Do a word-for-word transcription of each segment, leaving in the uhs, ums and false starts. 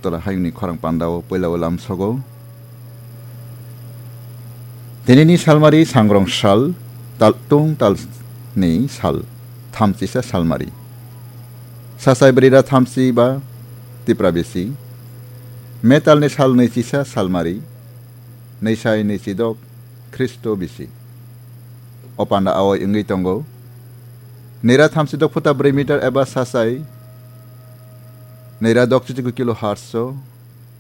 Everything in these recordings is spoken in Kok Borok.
Tola hayungni khorang pandao puilao lamsogo. Tinini salmari sangrong sal, tal tung talni sal, thamchisa salmari. Sasai brira thamchi ba tipra bisi. Metalni sal nwichisa salmari, nwisai nwichidok Khristo bisi. O panda awai wngwi tongo. Nira thamchidok phuta brwi meter eba sasai nira dok chichiku kilohertz o.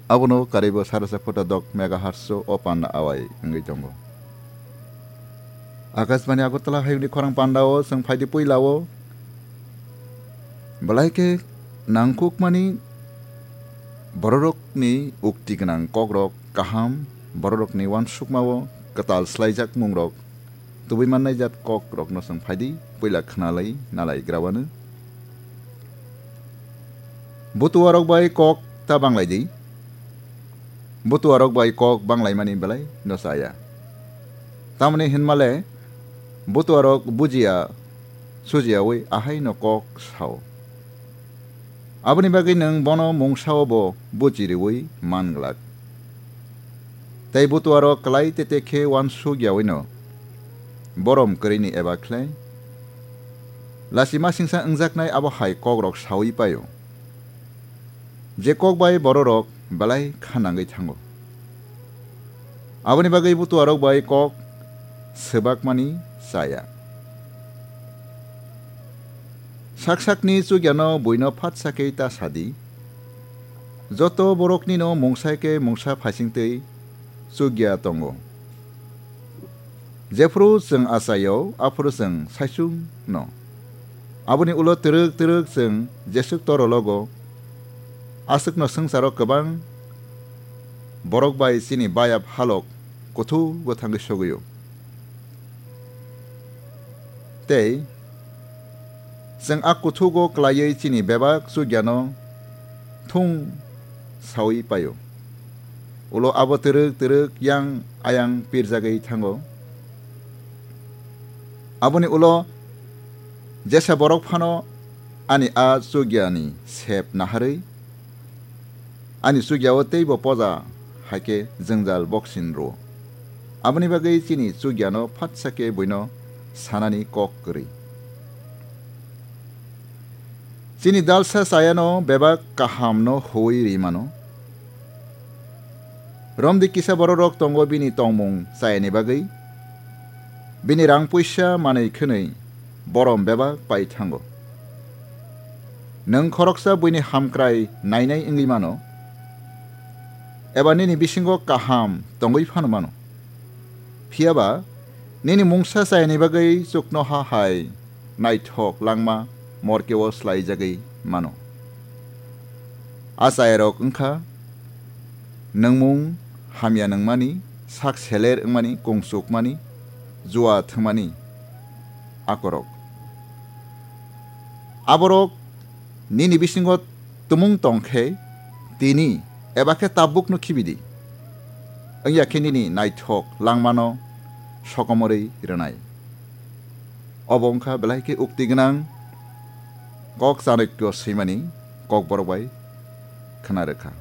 Abono karibo sarasa phuta dok megahertz o, o panda awai wngwi tongo. Akashbani Agartala hayungni khorang pandao chwng phaidi puilao. Belai khe nangkukmani bororokni ukti gwnang kokrok kaham, bororokni uansukmao kwtal swlaijak mungrok, tubui mannai jat kokrokno chwng phaidi puila khwnalai nalai grawano. Butuarok bai kok ta banglai di. Butuarok bai kok banglaimani belai no chaya. Tamoni hinmale butuarok bujiya sujiyawi ahai no kok sao. Aboni bagwi nwng bono mungsao bo buji riwi man glak. Tei butuarok klai tete khe uansuk yawino borom kwrwini eba khlai lachima singsa wngjaknai abo hai kokrok sawi paio. Je kok bai bororok belai kha nangwi thango. Aboni bagwi butuarok bai kok swbakmani chaya. Sak sakni chukyano buino phatsa khe ta sadi. Joto boroknino mungsa khe mungsa phaisingtwi chukya tongo. Jephru chwng achaio, aphuru chwng saichung no. Aboni ulo twrwk twrwk chwng jeswk torologo, aswkno swngcharo kwbang borok bai chini bayap halok kuthugo thangwi sogwio. Tei chwng a kuthugo klaiwi chini bebak chukyano thung sawi paio. Ulo abo twrwk twrwk yang ayang pirjagwi thango. Aboni ulo jesa borok phano ani a chukyani sep naharwi ani chukyao teibo poja hai khe jwngjal boksin rwo. Aboni bagwi chini chukyano phatsa khe buino sanani kok kwrwi. Chini dalsa chayano bebak kahamno huwi ri mano. Romdi kisa bororok tongo bini tongmung chayani bagwi. Bini rang puisa manwi khwnwi borom bebak pai thango. Nwng khoroksa buini hamkrai nainai wngwi mano, eba nini bisingo kaham tongwi phano mano. Phiya ba nini mungsa chayani bagwi chuknoha hai naithok langma morkeo slaijagwi mano. A chayarok wngkha nwngmung hamya nungmani, sak seler wngmani, kungsukmani, jua thwngmani akorok. Aborok nini bisingo tumung tong khe tini eba khe tabukno khibi di. Wngya khe nini naithok langmano sokomorwi rwnai. Obo wngkha belai khe ukti gwnang kok Chanakya swimani kokborok bai khna rwkha.